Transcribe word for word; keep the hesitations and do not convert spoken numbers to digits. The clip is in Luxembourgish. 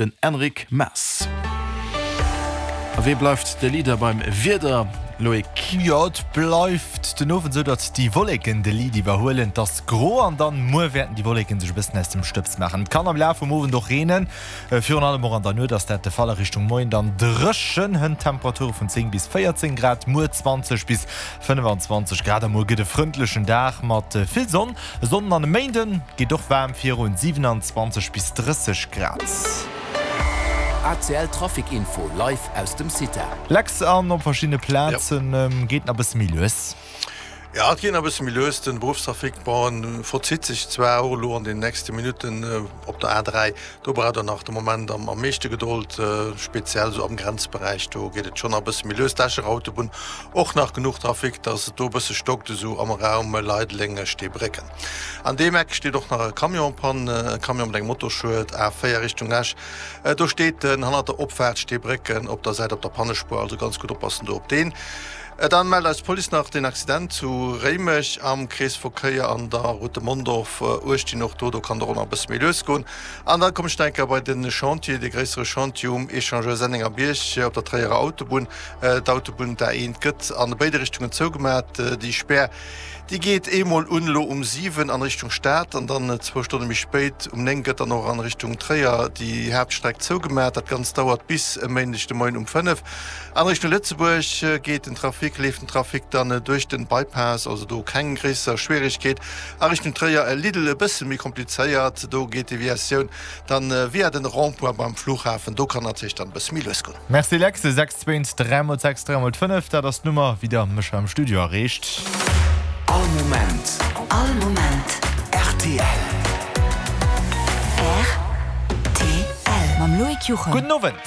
Den Enric Mas. A wéi bleift de Leader beim Wieder, Loïc? Jo, et bleift den Owend esou, datt déi Wolleken de Lead iwwerhuelen. Et ass gro an dann muer wäerten déi Wolleken sech e bëssen aus dem Stëbs maachen. Et kann am Laf vum Owend och reenen, virun allem och an der Nuet ass dat de Fall. A Richtung Moien dann dréchen, hënt Temperature vun zéng bis véierzéng Grad, muer zwanzeg bis fënnefanzwanzeg Grad. A muer gëtt e frëndlechen Dag mat vill Sonn. E Sonnden an e Méinde geet och waarm virun, siewenanzwanzeg bis drësseg Grad. A C L Trafic Info live aus dem CITA. Lex, an op verschiddene Plazen geet nach e bësse méi lues. Ja, et geet nach e bësse méi lues. Den Beruffstrafic, bon, en verzitt sech zwar och elo an den nächste Minutten op der A dräi. Do braucht der nach de Moment am am meeschte Gedold, speziell esou am Grenzberäich, do geet et schonn nach e bësse méi lues. D'Escher Autobunn och nach genuch Trafic, dass et do e bësse stockt, esou am Raum Leideleng, Steebrécken. An deem Eck steet och nach e Camion en panne, e Camion mat engem Motorschued, A véier Richtung Esch. Do steet en hannert der Opfaart Steebrécken op der Säit op der Pannespuer, also ganz gutt oppassen do op deen. Dann mellt eis d'Police nach deen Accident zu Réimech am Kreesverkéier an der Route de Mondorf uechtzehn. Och do, do kann der och nach e bësse méi lues goen. An dann komme ech nach eng Kéier bei de Chantier, dee gréissere Chantier um Echangeur Sennengerbierg op der Tréierer Autobunn. D'Autobunn, d'A eent, gëtt an béide Richtungen zougemat. Déi Spär, déi geet eemol un elo um siwen an Richtung Stad an dann zwou Stonne méi spéit um néng gëtt dann och an Richtung Tréier déi Haaptstreck zougemat. Dat Ganzt dauert bis e Méindeg de Moien um fënnef. An Richtung Lëtzebuerg geet den Trafic, leeft den Trafic dann duerch den Bypass, also do keng gréisser Schwieregkeet. A Richtung Tréier e Lidl e bësse méi komplizéiert, do geet d'Deviatioun dann via den Rond-point beim Flughafen, do kann natierlech dann e bësse méi lues goen. Merci Lex, sechs zwéin dräi mol sechs dräi mol fënnef, dat ass d'Nummer wéi der mech hei am Studio erreecht. All Moment. All Moment. R T L. R T L. Mam Loïc Juchem. Gudden Owend.